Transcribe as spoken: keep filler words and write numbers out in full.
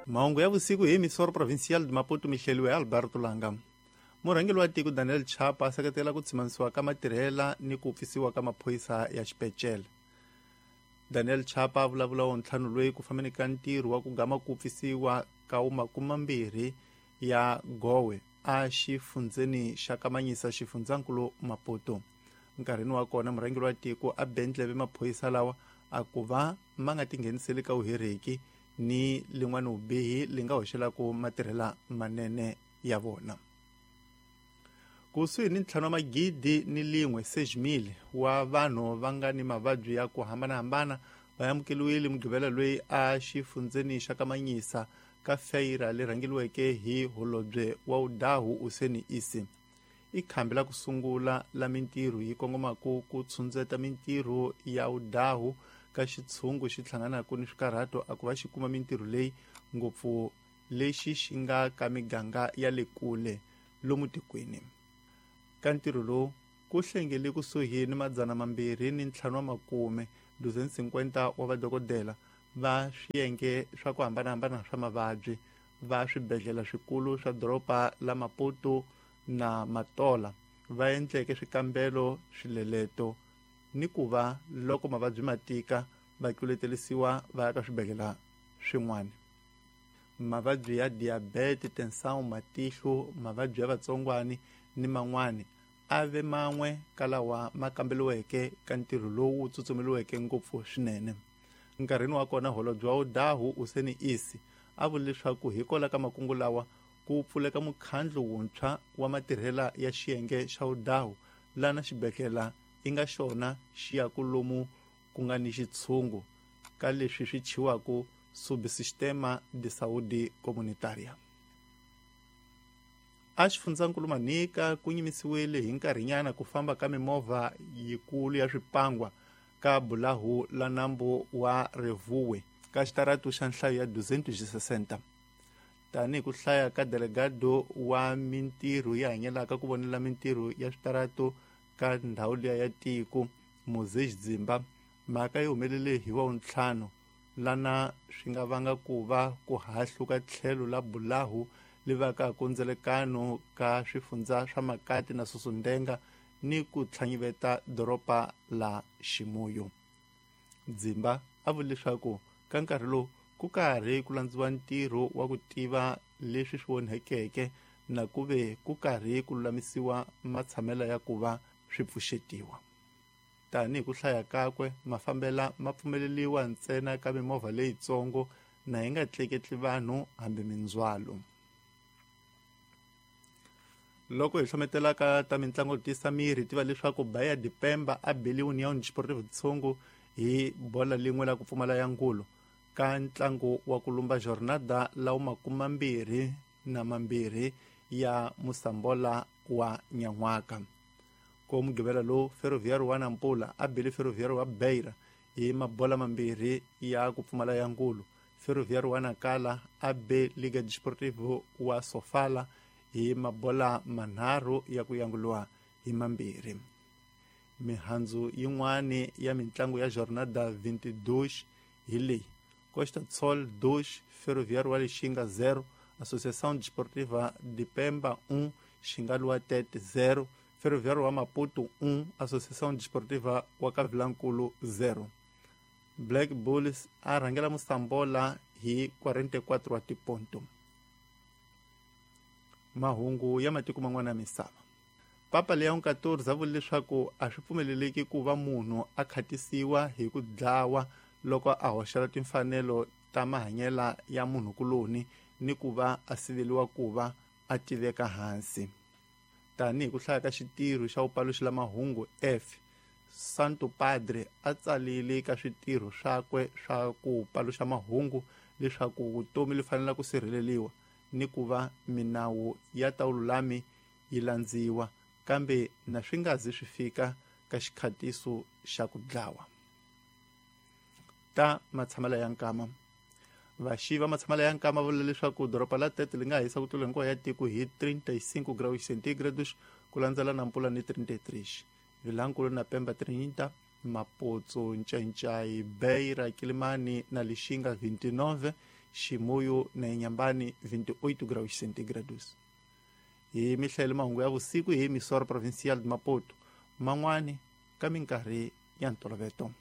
Mahungu ya vusiku hi Emissora Provincial de Maputo mihleliwe Alberto Langa. Murhangeri wa tiko Daniel Chapa a seketela ku tshimanisiwa ka matirhela ni ku pfisiwa ka maphorisa ya xipecele. Daniel Chapa a vulavula wo ntlhanu loyi ku fambeni ka ntirho wa ku gama ku pfisiwa ka makumambirhi ya Gowe a xifundzeni xa Kamanyisa xifundzankulu Maputo. Nkarhini wa kona murhangeri wa tiko a bendleve maphorisa lawa a ku va ma nga tingheniseli ka vuhereki ni lin'wana vubihi li nga hoxelaka matirhela manene ya vona. Kusuhi ni ntlhanu wa magidi ni lin'we seis mil wa vanhu va nga ni mavabyi ya ku hambanahambana va amukeliwile Mugqivela loyi a xifundzeni xa Kamanyisa ka feira leri rhangeriweke hi holobye wa Udahu Useni Isi. I khambi la ku sungula la mintirho yi kongomaka ku tshundzeta mintirho ya Udahu ka xitshungu xi hlanganaka ni swikarhato a ku va xi kuma mintirho leyi ngopfu lexi xi nga ka miganga ya le kule lomu tikweni. Ka ntirho lowu ku hlengele kusuhi ni madzana mambirhi ni ntlhanu wa makume duzen cinquenta wa vadokodela va swiyenge swa ku hambanahambana swa mavabyi va swibedhlele swikulu swa doroba la Maputo na Matola va endleke swikambelo swileleto ni ku va loko mavabyi ma tika va tluletelisiwa va ya ka swibedhlele swin'wana. Mavabyi ya diabete, tensão, matihlo, mavabyi ya vatsongwani ni man'wani a ve man'we ka lawa ma kambeliweke ka ntirho lowu tsutsumeliweke ngopfu swinene. Nkarhini wa kona holobye wa Udahu Useni Isi a vula leswaku hikwalaho ka makungu lawa ku pfuleka mukhandlu wuntshwa wa matirhela ya xiyenge xa Udahu lana xibedhlele i nga xona xi ya ku lomu ku nga ni xitshungu ka leswi swi chiwaka Subsistema de Saúde Comunitária. A xifundzankulu Manika ku nyimisiwile hi nkarhinyana ku famba ka mimovha yikulu ya swipangwa ka bulahu la nambu wa Revuwe ka xitaratu xa nhlayo ya duzentos e sessenta. Tanihi ku hlaya ka delegado wa mintirho yi hanyelaka ku vonela mintirho ya switaratu ka ndhawu liya ya tiko Moses Dzimba, mhaka yi humelele hi wa ntlhanu lana swi nga vanga ku va ku hahluka tlhelo la bulahu li vaka ku ndzelekano ka swifundza swa Makati na Susundenga ni ku tlhanyiveta doroba la Ximuyo. Dzimba a vula leswaku ka nkarhi lowu ku karhi ku landziwa ntirho wa ku tiva leswi swi onhekeke na ku ve ku karhi ku lulamisiwa matshamela ya ku va swi pfuxetiwa. Tanihi ku hlaya kakwe mafambela ma pfumeleliwa ntsena ka mimovha leyitsongo na yi nga tleketli vanhu hambi mindzhwalo. Loko hi hlometela ka ta mintlango tisa miri tiva leswaku Bahia de Pemba a beli União Desportiva Tshungu hi bola lin'we la ku pfumala ya ngulo ka ntlangu wa ku lumba jornada lawu makumambirhi na mambirhi ya Musambola wa Nyan'waka. Ko Mugqivela lowu Ferroviário wa Nampula a beli Ferroviário wa Beira hi mabola mambirhi ya ku pfumala ya ngulo. Ferroviário wa Nakala a be Liga Desportivo wa Sofala hi mabola manharhu ya ku yanguliwa hi mambirhi. Mihandzu yin'wani ya mintlangu ya jornada vinte e dois hi leyi: Costa do Sol dois, Ferroviário wa Lixinga zero, Associação Desportiva de Pemba um, Xingaluwa Tete zero, Ferroviário wa Maputo um, Associação Desportiva wa Kavilankulu zero. Black Bulls a rhangela Musambola hi quarenta e quatro wa tiponto. Mahungu ya matiko man'wana ya misava. Papa Leon quatorze a vula leswaku a swi pfumeleleki ku va munhu a khatisiwa hi ku dlawa loko a hoxela timfanelo ta mahanyela ya munhukuloni ni ku va a siveliwa ku va a tiveka hansi. Tanihi ku hlaya ka xitirho xa vupaluxi la mahungu F, Santo Padre a tsalile ka switirho swakwe swa ku paluxa mahungu leswaku vutomi li fanele ku sirheleliwa ni ku va minawu ya ta vululami yi landziwa, kambe na swi nga zi swi fika ka xikhatiso xa ku dlawa. Ta matshamela ya nkama. Vaxi va matshamela ya nkama vula leswaku doroba la Tete li nga hisa ku tlula hinkwayo ya tiko hi trinta e cinco graus centígrados ku landzela Nampula ni trinta e três. Vilankulu na Pemba trinta, Mapotso, Ncancai, Beira, Kilimani na Lixinga vinte e nove, Chimoio na Inhambane vinte e oito graus centígrados. Hi mihlayelo mahungu ya vusiku hi emissora provincial de Maputo, man'wani ka minkarhi ya ntoloveto.